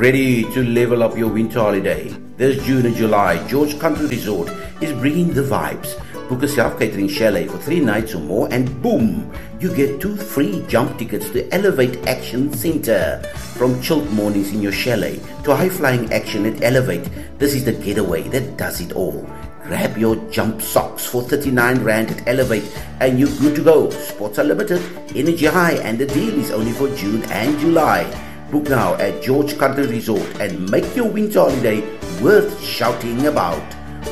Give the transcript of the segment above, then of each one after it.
Ready to level up your winter holiday? This June and July, George Country Resort is bringing the vibes. Book a self-catering chalet for 3 nights or more and boom, you get 2 free jump tickets to Elevate Action Center. From chilled mornings in your chalet to high-flying action at Elevate, this is the getaway that does it all. Grab your jump socks for 39 Rand at Elevate and you're good to go. Spots are limited, energy high, and the deal is only for June and July. Book now at George Country Resort and make your winter holiday worth shouting about.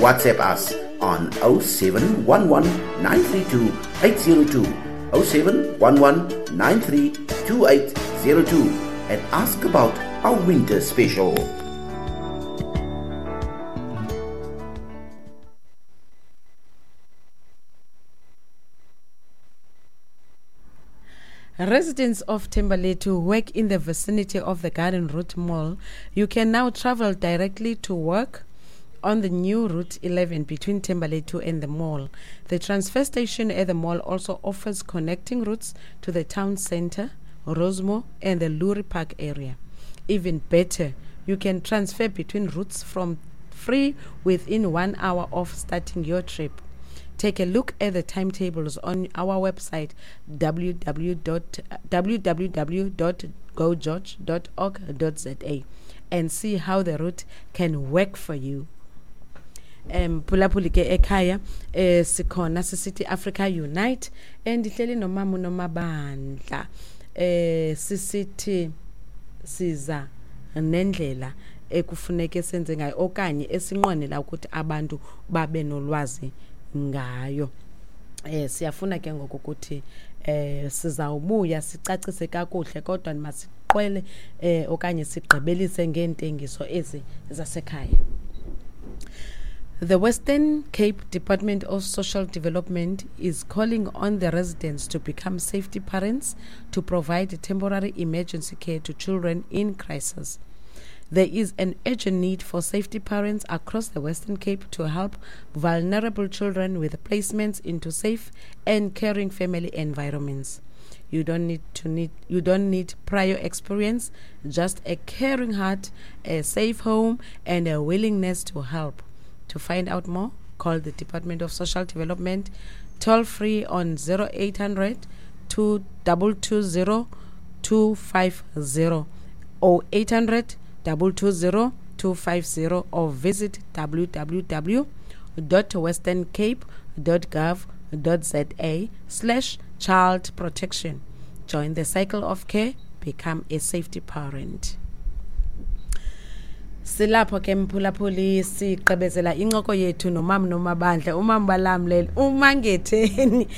WhatsApp us on 0711 932 802, 0711 932 802, and ask about our winter special. Residents of Thembalethu who work in the vicinity of the Garden Route Mall, you can now travel directly to work on the new Route 11 between Thembalethu and the mall. The transfer station at the mall also offers connecting routes to the town center, Rosemoor, and the Lurie Park area. Even better, you can transfer between routes from free within 1 hour of starting your trip. Take a look at the timetables on our website www.gogeorge.org.za and see how the route can work for you. Phulaphuli ke ekhaya, sikhona sisithi Africa Unite, ndihleli nomama uNomabandla, sisithi siza nendlela ekufuneke senze ngayo okanye esinqwenela ukuthi abantu babe nolwazi ngayo. Siyafuna ke ngoku ukuthi sizawubuya sicacise kakuhle, kodwa masiqwele okanye sigqibelise ngeentengiso ezi zasekhaya. The Western Cape Department of Social Development is calling on the residents to become safety parents to provide temporary emergency care to children in crisis. There is an urgent need for safety parents across the Western Cape to help vulnerable children with placements into safe and caring family environments. You don't need prior experience, just a caring heart, a safe home, and a willingness to help. To find out more, call the Department of Social Development toll free on 0800 220 250 or 800 220 250, or visit www.westerncape.gov.za/child protection. Join the cycle of care, become a safety parent. Silapho ke mphulaphuli, siqebezela incoko yethu nomama Nomabandla, umama balamlele uMangetheni.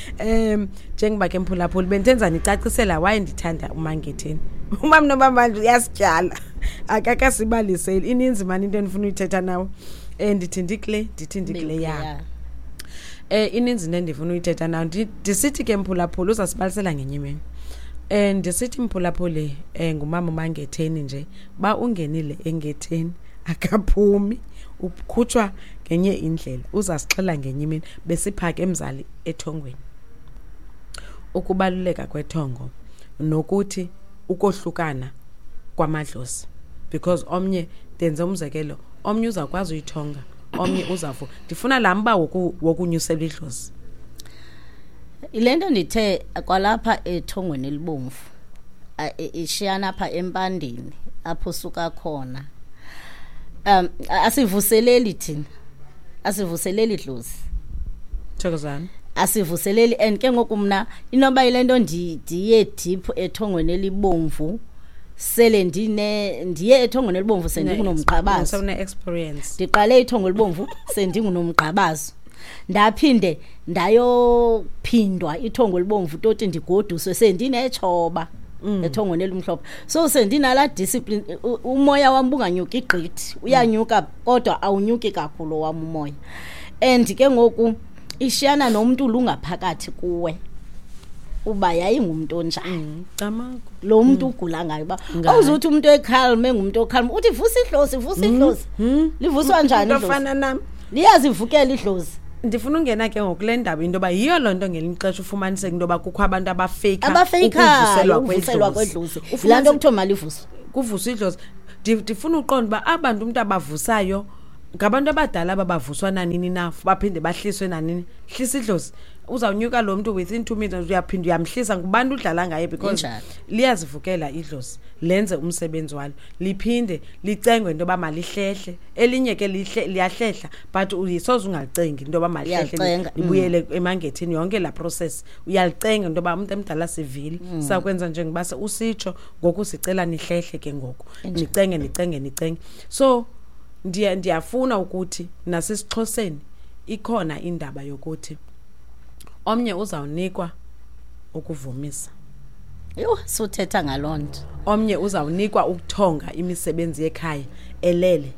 Njengoba ke mphulaphuli bendenza nicacisela waye ndithanda uMangetheni. Umama Nomabandla uyasityala, akakasibaliseli ininzi mani into endifuna uyithetha nawe. Ndithi ndikule, ndithi ndikule ya. Ininzi into endifuna uyithetha nawe. Ndisithi ke mphulaphuli uzasibalisela ngenye imini. Ndisithi mphulaphuli, ngumama uMangetheni nje, ba ungenile engetheni akaphumi, ukhutshwa ngenye indlela, uzasixela ngenye imini. Besiphake emzali ethongweni. Ukubaluleka kwethongo nokuthi ukohlukana kwamadlozi, because omnye, ndenze umzekelo, omnye uzakwazi uyithonga, omnye uzavu. Ndifuna laa mba wokunyusela idlozi. Le nto ndithe kwalapha ethongweni elibomvu, ishiyana apha empandeni apho suka khona. Asivuseleli thina, asivuseleli idlozi. Thokozani. Asivuseleli. And ke ngoku mna inoba yile nto ndiye deep ethongweni elibomvu, sele ndiye ethongweni elibomvu sendingunomgqabazo. Sewune-experience. Ndiqale ithongo elibomvu sendingunomgqabazo. Ndaphinde ndayophindwa ithongo elibomvu toti ndigoduswe sendinetshoba ethongweni elimhlophe. So sendinala discipline, umoya wam bunganyuki gqithi, uyanyuka kodwa awunyuki kakhulu wam umoya. And ke ngoku ishiyana nomntu lungaphakathi kuwe uba yayingumntu onjani. Lo mntu ugula ngayo uba awuzuthi umuntu ecalm, engumuntu ocalm, uthi vusa idlozi, vusa idlozi. Livuswa njani idlozi? Ofana nam. Liyazivukela idlozi. Ndifuna ungena ke ngokule ndaba into yoba yiyo loo nto ngelinye ixesha ufumaniseke into yoba kukho abantu abafeyikha Abafeyikhayo ukuvuselwa ukuvuselwa kwedlozi. kwedlozi. Laa nto kuthiwa malivuswe. Kuvuswa idlozi. Ndifuna uqonda uba abantu umntu abavusayo ngabantu abadala ababavuswa nanini na, baphinde bahliswe nanini. Hlisa idlozi, uzawunyuka lo mntu within 2 minutes, uyaphinda uyamhlisa. Ngubantu udlala ngaye because liyazivukela idlozi, lenze umsebenzi walo, liphinde licengwe into yoba malihlehle. Elinye ke liyahlehla, but uyisoze ungalicengi into yoba malihlehle, libuyele emangethini. Yonke laa process uyalicenga into yoba umntu emdala sivile, sakwenza njengoba usitsho ngoku, sicela nihlehle ke ngoku, nicenge nicenge nicenge. So ndiyafuna ukuthi nasesiXhoseni ikhona indaba yokuthi omnye uzawunikwa ukuvumisa. Yho, suthetha ngaloo nto. Omnye uzawunikwa ukuthonga imisebenzi yekhaya elele,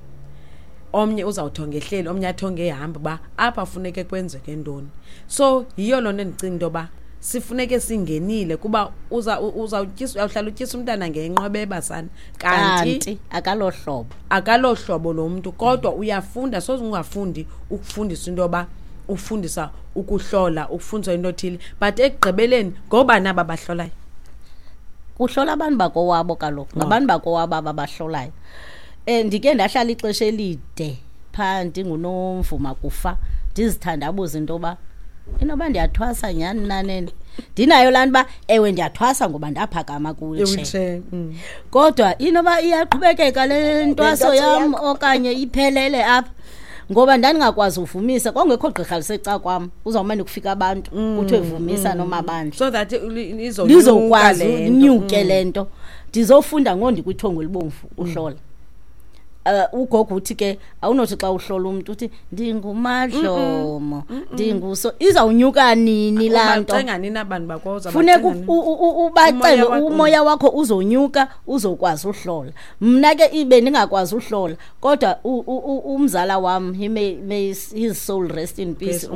omnye uzawuthonga ehleli, omnye athonge ehamba, uba apha funeke kwenzeke ntoni. So yiyo loo nto endicinga into yoba sifuneke singenile, kuba uzawuhlala utyisa umntana ngenqwebeba sana, kanti akalohlobo, akalohlobo lo mntu, kodwa uyafunda. Soze ungafundi ukufundisa into yoba ufundisa ukuhlola, ukufundisa into othile, but ekugqibeleni ngoba naba bahlolayo. Kuhlola abantu bakowabo kaloku, ngabantu bakowabo ababahlolayo. Ndike ndahlala ixesha elide phaa ndingunomvuma kufa, ndizithandabuza into yoba inoba ndiyathwasa nyhani nanene. Ndinayo laa nto uba ewe ndiyathwasa ngoba ndaphakama kwi-wheelchair, kodwa inoba iyaqhubekeka le ntwaso yam okanye iphelele apha, ngoba ndandingakwazi uvumisa. Kwakungekho gqirha liseca kwam, uzawumane kufika abantu kuthiwe vumisa nomabandla, so that lizokwazi unyuke le nto. Ndizofunda ngondikwithongo elibomvu uhlola. Ugogo uthi ke awunothi xa uhlola umntu uthi ndingumadlomo, ndinguso, izawunyuka nini laa nto? Funeka ubacenge umoya wakho uzonyuka, uzokwazi uhlola. Mna ke ibe ndingakwazi uhlola, kodwa umzala wam, he may his soul rest in peace,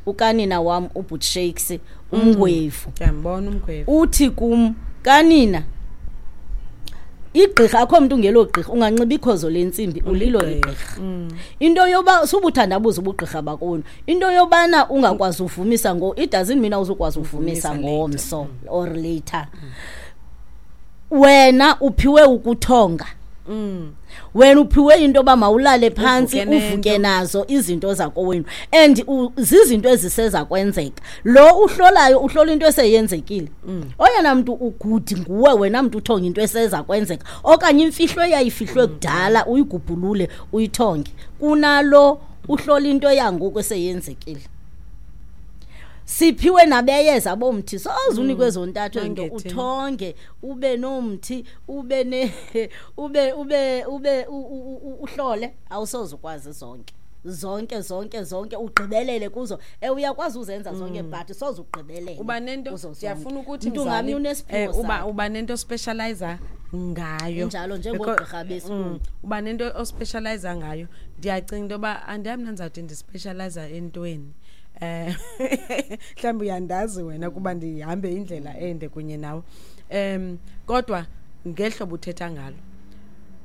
ukanina wam uBut Shakes umngwevu, ndiyambona umngwevu, uthi kum, kanina igqirha akho mntu ungelo gqirha, unganxiba ikhozo lentsimbi ulilo igqirha. Into yoba subuthandabuza ubugqirha bakowenu, into yobana ungakwazi uvumisa ngo, it doesn't mean awuzukwazi uvumisa ngomso or later. Wena uphiwe ukuthonga. Wena uphiwe into yoba mawulale phantsi uvuke nazo izinto zakowenu, and zizinto eziseza kwenzeka. Lo uhlolayo uhlola into eseyenzekile. Oyena mntu ugudi nguwe wena mntu uthonga into eseza kwenzeka, okanye imfihlo eyayifihlwe kudala uyigubhulule uyithonge, kunalo uhlola into yangoku eseyenzekile. Siphiwe nabeyeza bomthi, soze unikwe zontathu into, uthonge ube nomthi ube ne ube ube ube uhlole, awusoze ukwazi zonke zonke zonke zonke ugqibelele kuzo. Uyakwazi uzenza zonke, but soze ugqibelele. Uba nento ndiyafuna ukuthi mntu unesiphiwo, uba nento specializer ngayo njalo njengogqirha besilungu, uba nento ospecializer ngayo. Ndiyacinga into yoba andiyam ndizawuthi ndispecializer entweni. Mhlawumbi uyandazi wena kuba ndihambe indlela ende kunye nawe. Kodwa ngehlobo uthetha ngalo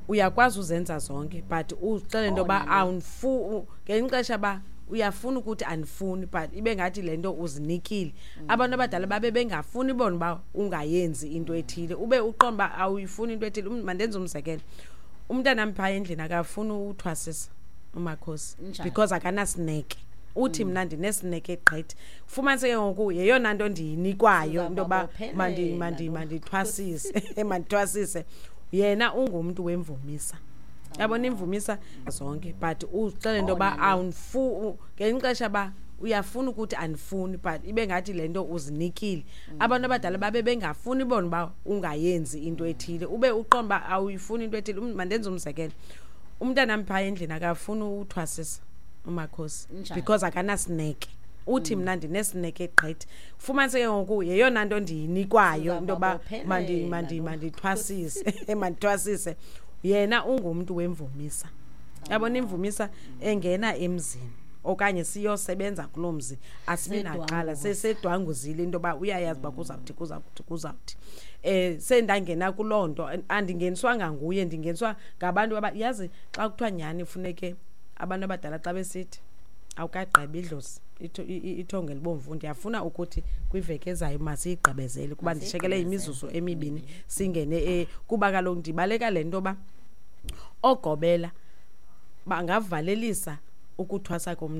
uyakwazi uzenza zonke, but uxele into yoba ngelinye ixesha ba uyafuna ukuthi andifuni, but ibe ngathi le nto uzinikile. Abantu abadala babe bengafuni bona uba ungayenzi into ethile, ube uqonda uba awuyifuni into ethile. Mandenze umzekelo, umntanam phaa endlini akafuni uthwasisa umakhosi because akanasineke. Uthi mna ndinesineke gqithi. Fumaniseke ngoku yeyona nto ndiyinikwayo into yoba mandithwasise, mandithwasise. Yena ungumntu wemvumisa, yabona imvumisa zonke, but uxele into yoba ngelinye ixesha ba uyafuna ukuthi andifuni, but ibe ngathi le nto uzinikile. Abantu abadala babe bengafuni bona uba ungayenzi into ethile, ube uqonda uba awuyifuni into ethile. Mandenze umzekelo, umntanam phaa endlini akafuni uthwasisa umakhosi because akanasineke. Uthi mna ndinesineke gqithi. Fumaniseke ngoku yeyona nto ndiyinikwayo into yoba mandithwasise, mandithwasise. Yena ungumntu wemvumisa, yabona imvumisa engena emzini okanye siyosebenza kuloo mzi, asibi naqala sesedwanguzile into yoba uyayazi uba kuzawuthi kuzawuthi kuzawuthi. Sendangena kuloo nto, andingeniswanga nguye, ndingeniswa ngabantu yazi xa kuthiwa nyhani funeke abantu abadala xa besithi awukagqibi idlozi ithongo elibomvu. Ndiyafuna ukuthi kwiveki ezayo masiyigqibezele, kuba ndishekele imizuzu emibini singene, kuba kaloku ndibaleka le nto yoba Oogobela bangavalelisa ukuthwasa komntu.